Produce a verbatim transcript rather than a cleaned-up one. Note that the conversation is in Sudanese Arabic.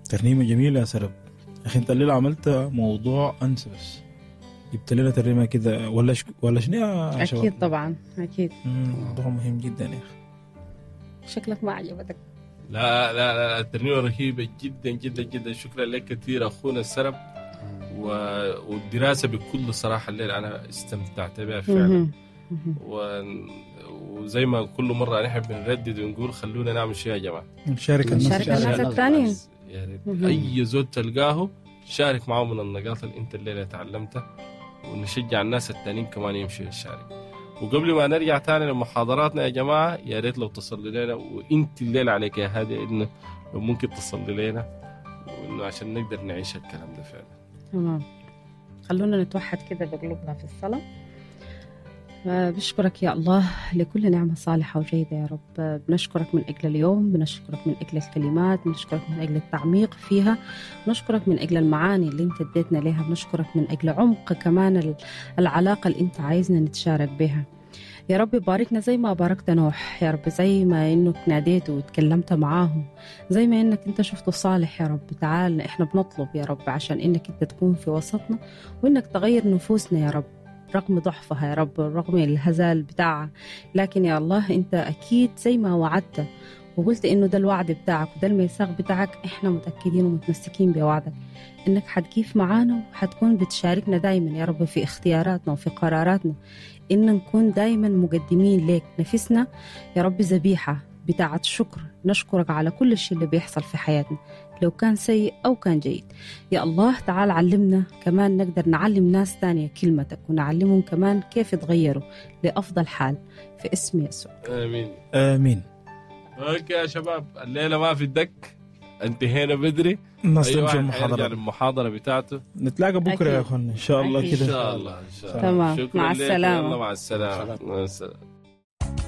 ترنيمة جميلة يا سرب. أخي أنت الليلة عملت موضوع أنسى بس جبت لنا ترنيمة كده ولا ش... ولا شنو يا شباب؟ أكيد طبعا أكيد. موضوع مهم جدا يا أخي. شكلك ما عجبتك. لا لا لا الترنيمة رهيبة جدا جدا جدا. شكرا لك كثير أخونا السرب، و... والدراسة بكل صراحة الليلة أنا استمتعت بها فعلا. و... وزي ما كل مرة نحن بنردد ونقول خلونا نعمل شيء يا جماعة، نشارك الناس، نشارك الناس الثانيين. يعني أي زول تلقاه شارك معه من النقاط اللي أنت الليلة تعلمتها، ونشجع الناس التانيين كمان يمشوا يشارك. وقبل ما نرجع تاني لمحاضراتنا يا جماعة، يا ريت لو تصلي لنا، وانت الليلة عليك يا هادي إنه لو ممكن تصلي لنا، وإنه عشان نقدر نعيش الكلام ده فعلا. تمام، خلونا نتوحد كده بقلوبنا في الصلاة. بشكرك يا الله لكل نعمة صالحة وجيدة يا رب. بنشكرك من أجل اليوم، بنشكرك من أجل الكلمات، بنشكرك من أجل التعميق فيها، بنشكرك من أجل المعاني اللي أنت اديتنا لها، بنشكرك من أجل عمق كمان العلاقة اللي أنت عايزنا نتشارك بها يا رب. باركنا زي ما باركت نوح يا رب، زي ما إنك ناديته وتكلمت معاه، زي ما إنك أنت شفته صالح يا رب. تعال إحنا بنطلب يا رب عشان إنك أنت تكون في وسطنا، وإنك تغير نفوسنا يا رب رغم ضعفها يا رب، رغم الهزال بتاعها، لكن يا الله أنت أكيد زي ما وعدت وقلت إنه ده الوعد بتاعك وده الميثاق بتاعك، إحنا متأكدين ومتمسكين بوعدك إنك حتكيف معانا وحتكون بتشاركنا دايما يا رب في اختياراتنا وفي قراراتنا، إن نكون دايما مقدمين لك نفسنا يا رب ذبيحة بتاعة شكر، نشكرك على كل شيء اللي بيحصل في حياتنا لو كان سيء أو كان جيد. يا الله تعال علمنا كمان نقدر نعلم ناس تانية كلمتك، ونعلمهم كمان كيف يتغيروا لأفضل حال في اسم يسوع. آمين آمين. okay يا شباب، الليلة ما في الدك، انتهينا بدري، الناس تمشي المحاضرة، المحاضرة بتاعته. نتلاقى بكرة يا أخوان إن شاء الله كده. إن شاء الله إن شاء الله. تمام، مع السلامة. مع السلامة. مع السلامة.